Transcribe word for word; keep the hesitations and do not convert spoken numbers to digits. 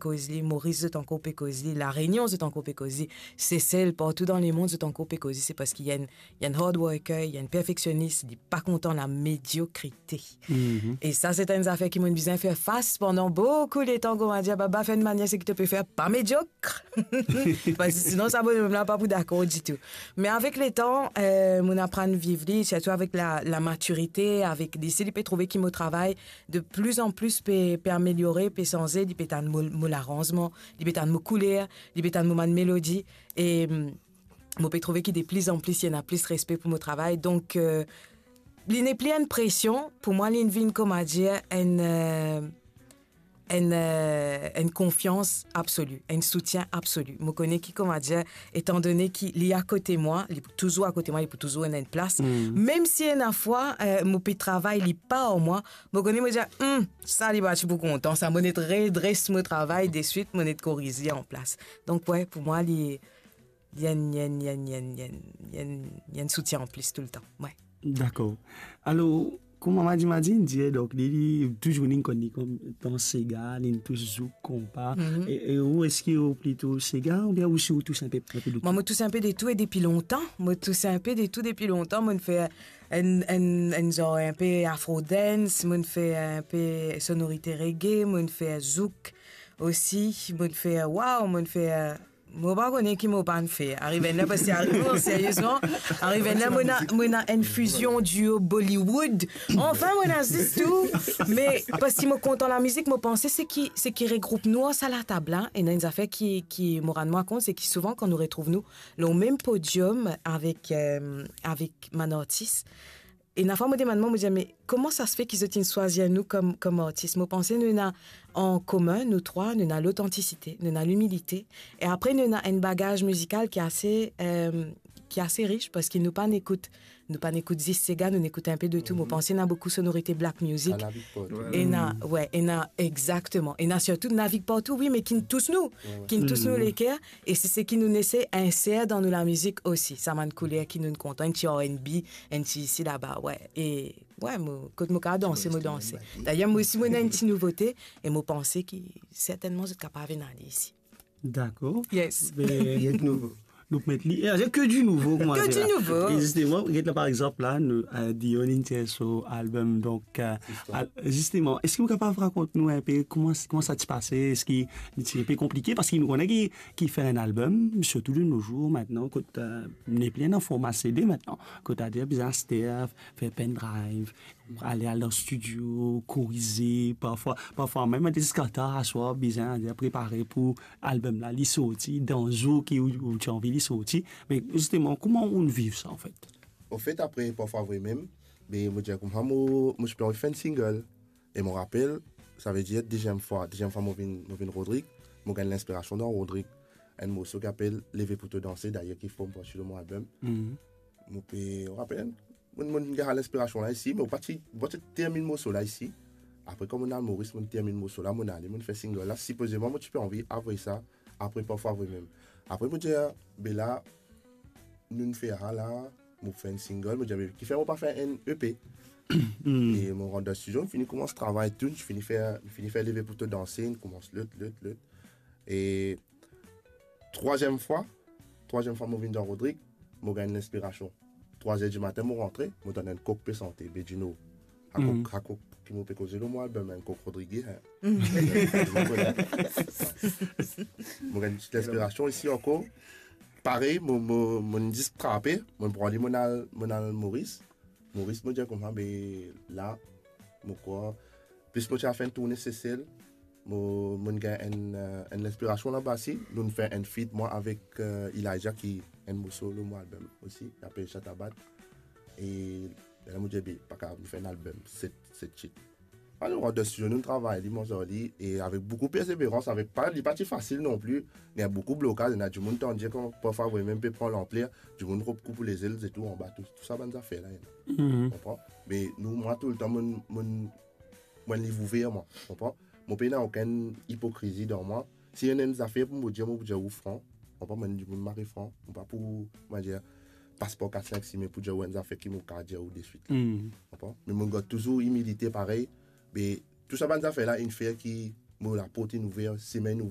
koz li, Moris zot ankor pe koz li, La Rényon zot ankor pe koz li, Sesel, partou dan lemond zot ankor pe koz li, se parski li enn, li enn hard worker, li enn perfeksionis, li pa kontan lamediokrite. Mhm. E sa, se enn zafer ki mo'nn bizin fer fas pandan boukou letan, kouma dir, baba, fer enn manier seki to pe fer pa mediok. Parski sinon, sa bononm la pa pou dakor ditou. Me avek letan, eh, mo'nn aprann viv li, sirtou avek la, lamatirite, avek li, si li pe trouve ki mo travay de pli an pli pe, pe ameliore, pe sanze, li pe tann mo, mo laranzman, li pe tann mo kouler, li pe tann mo bann melodi, e, mm, mo pe trouve ki de pli an pli, li ena plis respe pou mo travay. Donk, eh, li nepli enn presion, pou mwa, li vinn, kouma dir, enn, eh, enn, eh, enn konfians absoli, enn soutien absoli. Mo kone ki, kouma dir, etandone ki li akote mwa, li pou touzour akote mwa, li pou touzour ena enn plas. Mm. Mem si ena fwa, eh, mo pe travay, li pa ar mwa, mo kone, mo dir, "Hmm, sa li pa ti pou kontan, sa mo net redres mo travay deswit, mo net koriz li an plas." Donk, we, pou mwa, li, li enn, li enn, li enn, li enn, li enn, li enn, li enn soutien an plis toultan. We. Dakor. Alor, kouma Madi Madi inn dir, donk, li, li touzour inn konn li kouma sega, li tous zouk, konpa. Mhm. E, e ou, eski ou plito sega oubien ou si ou tous enpe, enpe de tou? Mwa, mo tous enpe de tou e depi lontan. Mo tous enpe de tou depi lontan. Mo'nn fer enn, enn, enn zar enpe afro dance, mo'nn fer enpe sonorite reggae, mo'nn fer zouk osi, mo'nn fer, waw, mo'nn fer, mo pa kone ki mo pa'nn fer. Ariv enn ler, parski ariv, non, seriezman, ariv enn ler, mo ena, mo ena enn fizion duo Bollywood. Anfin, mo ena zis tou. Me parski mo kontan lamizik, mo panse seki, seki regroup nou ar sa latab la, ena enn zafer ki, ki mo rann mwa kont, seki souvan kan nou retrouv nou lor mem podiom avek, eh, avek bann artis, ena fwa mo demann mwa, mo dir, "Me kouma sa se fer ki zot inn swazir nou kom, kom artis?" Mo panse nou ena an komin, nou trwa, nou ena lotantisite, nou ena limilite, e apre nou ena enn bagaz mizikal ki ase, eh, ki ase rich, parski nou pa'nn ekout, nou pa'nn ekout zis sega, nou'nn ekout enpe de tou. Mo panse ena boukou sonorite black music. Ena, we, ena, exakteman. Ena sirtou Navig Partou, wi, me ki'nn tous nou, ki'nn tous nou leker, e se seki nou'nn esey inser dan nou lamizik osi, sa bann kouler ki nou'nn kontan, enn ti R and B, enn ti isi laba, we. E, we, mo, kot mo kapav danse, mo danse. Dayer, mo osi, mo ena enn ti nouvote, e mo panse ki sertennman zot kapav inn ale isi. Dakor. Yes. Be, nou pou met li, eh, ke di nouvo, kouma dir la. Ke di nouvo. E zisteman, get la, par exanp, la, nou, eh, Dion inn tir so album, donk, eh, zisteman, eski ou kapav rakont nou enpe kouma, kouma sa ti pase? Eski li ti enpe konplike? Parski nou kone ki, ki fer enn album, sirtou de nos jours, mintnan, kot, eh, nepli ena forma C D mintnan, kot adir bizin aster, fer pen drive, ale, al dan studio, korize, parfwa, parfwa mem, ale ziska tar aswar, bizin, adir, prepare pou album la, li sorti dan zour ki ou, ou ti anvi li sorti. Me zisteman, kouma ou viv sa, anfet? Anfet, apre, parfwa vre mem, me mo dir koumsa, mo, mo ti pe anvi fer enn single. E mo rapel, savedir deziem fwa, deziem fwa mo vinn, mo vinn Rodrig, mo gagn linspirasion dan Rodrig. Enn morso ki apel Leve pou to danse, dayer ki form parti lor mo album. Mhm. Mo pe rapel, mo, mo gagn linspirasion la isi, me mo pa ti, mo pa ti terminn morso la isi. Apre, kan mo'nn al Moris, mo'nn terminn morso la, mo'nn ale, mo'nn fer single la. Sipozeman, mo ti pe anvi avoy sa, apre parfwa vre mem. Apre, mo dir, be la, nou'nn fer sa la, mo fer enn single, mo dir, be, kifer mo pa fer enn E P? Hmm. E mo rant dan studio, mo fini koumans travay tou, mo fini fer, mo fini fer Leve pou to danse, mo koumans lot, lot, lot. E trwaziem fwa, trwaziem fwa mo vinn dan Rodrig, mo gagn linspirasion. Trwa zer di matin, mo rantre, mo tann enn kok pe sante, Bedjino. Sa kok, sa kok ki mo pe koze lor mo album, enn kok Rodrig, hein. Mo gagn linspirasion isi ankor. Parey, mo, mo, mo'nn zis trape, mo'nn pran li, mo'nn al, mo'nn al Moris. Moris, mo dir koumsa, be la, mo krwar, plis mo ti al fer enn tourne Sesel, mo, mo'nn gagn enn, eh, enn linspirasion laba si, nou'nn fer enn feat, mwa avek, eh, Elijah, ki enn morso lor mo album osi, li apel Shatabat. E la mo dir, be, pa kapav, nou fer enn album, set, set tit. Alor, nou rant dan studio, nou travay li, mwa ar li, e avek boukou perseverans, avek pa, li pa ti fasil non pli, gagn boukou blokaz, ena dimoun tann dir kan parfwa vre mem pe pran lanpler, dimoun koup, koup ou lezel, se tou anba, tou, tou sa bann zafer la, ena. Mhm. Konpran? Me nou, mwa toultan, mo'nn, mo'nn, mo'nn liv ouver, mwa, konpran? Mo pena okenn ipokrizi dan mwa. Si ena enn zafer pou mo dir, mo pou dir ou fran. Konpran? Mo'nn dimoun mari fran. Mo pa pou, kouma dir, pas par kat sink simin pou dir ou enn zafer ki mo kapav dir ou deswit la. Mhm. Konpran? Me mo'nn gard touzour imilite parey. Me tou sa bann zafer la inn fer ki mo laport inn ouver, simin inn ouver.